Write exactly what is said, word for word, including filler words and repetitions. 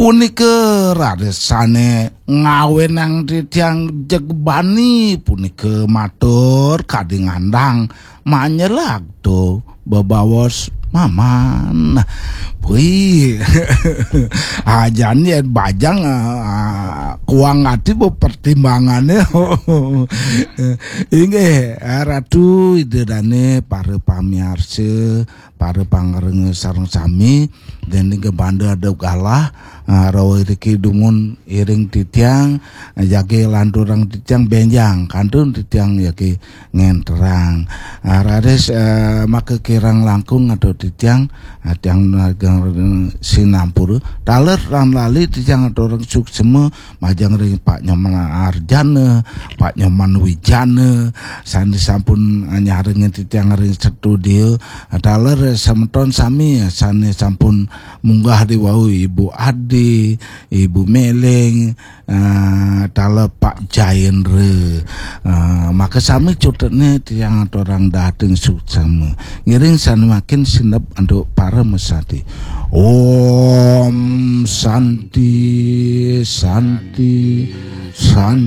Punika rarisane ngawenang titiang jegbani punika matur kadi ngandang manyelag to bebaos maman. Wih, ajan yen bajang, ah, kuang ati bu pertimbangane. Inggih, Ratu Ida Dane, para pamiarsa, para pangrengga sareng sami, dening kebanda ada galah, ah, rawa iriki dumun iring titiang, ah, jagi lanturang titiang benjang, kantun titiang jagi ngenterang. Ah, raris, eh, maka kirang langkung atau titiang, ah, tiang nagang sinampura. Taler lan lali titiang aturang suksema, majeng ring Pak Nyoman Arjana, Pak Nyoman Wijana, sane sampun nyarengin titiang ring studio. Taler semeton sami sane sampun munggah di wau, Ibu Adi, Ibu Meleng, eh, taler Pak Jaendra. Eh, maka sami cutetne tiang aturang dateng suksema. Ngiring sane makin sineb antuk para mesati. Om Santi, Santi, Santi.